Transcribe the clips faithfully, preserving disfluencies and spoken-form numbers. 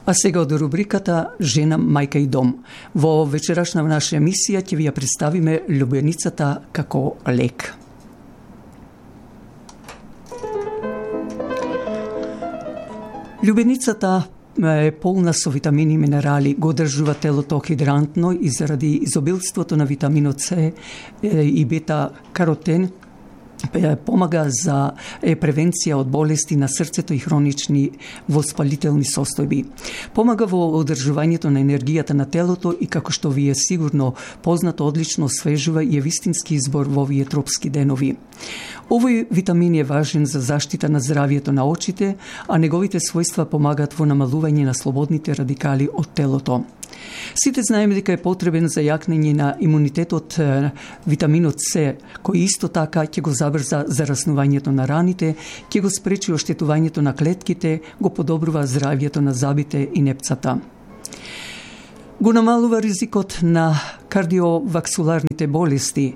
А сега од рубриката Жена, мајка и дом. Во вечерашна наша емисија ќе ви ја представиме љубеницата како лек. Љубеницата е полна со витамини и минерали, го одржува телото хидрантно и заради изобилството на витаминот С и бета-каротен помага за превенција од болести на срцето и хронични воспалителни состојби. Помага во одржувањето на енергијата на телото и, како што ви е сигурно познато, одлично освежува и е вистински избор во овие тропски денови. Овој витамин е важен за заштита на здравието на очите, а неговите својства помагаат во намалување на слободните радикали од телото. Сите знаеме дека е потребен за јакнење на имунитетот витаминот С, кој исто така ќе го забрза зараснувањето на раните, ќе го спречи оштетувањето на клетките, го подобрува здравието на забите и непцата. Го намалува ризикот на кардиоваскуларните болести.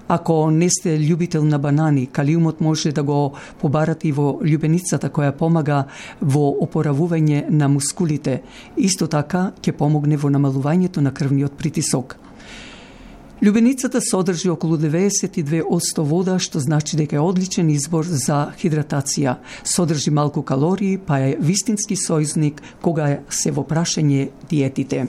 Ако не сте љубител на банани, калиумот може да го побарате и во љубеницата, која помага во опоравување на мускулите. Исто така ќе помогне во намалувањето на крвниот притисок. Љубеницата содржи околу деветдесет и две одсто вода, што значи дека е одличен избор за хидратација. Содржи малку калории, па е вистински сојузник кога се во прашање диетите.